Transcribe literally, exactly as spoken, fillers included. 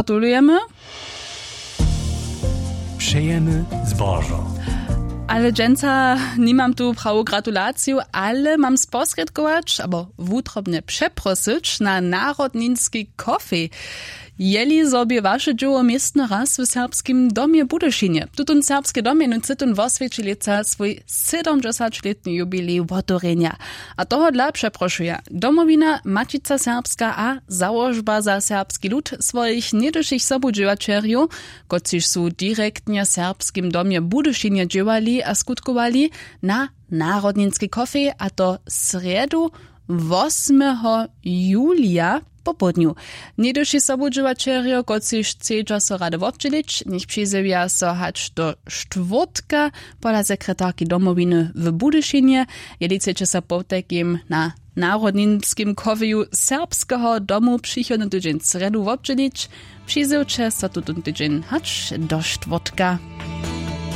Gratulujemy. Přejemy zbožo. Ale dźensa nimam tu prawu gratulaciju, ale mam sposrědkować abo wutrobnje přeprosyć na narodninski kofej. Jeli zo bě waše dźěło městno raz w serbskim domje w Budyšinje? Tutón serbski dom je nutřiton woswjeći lětsa swój sydomdźesaćlětny jubilej wotewrjenja. A tohodla přeprošuja Domowina, Maćica Serbska a Załožba za serbski lud swojich něhdyšich sobudźěłaćerjow, kotřiž su direktnje w serbskim domje w Budyšinje dźěłali a skutkowali, na narodninski kofej, a to srjedu wosmeho julija popołdnju. Něhdyši sobudźěłaćerjo, kotřiž chcedźa so rady wobdźělić, njech přizjewja so hač do štwórtka pola sekretarki Domowiny w Budyšinje. Jeli chceće so potajkim na narodninskim kofeju Serbskeho domu přichodny tydźeń srjedu wobdźělić, přizjewće so tutón tydźeń hač do štwórtka.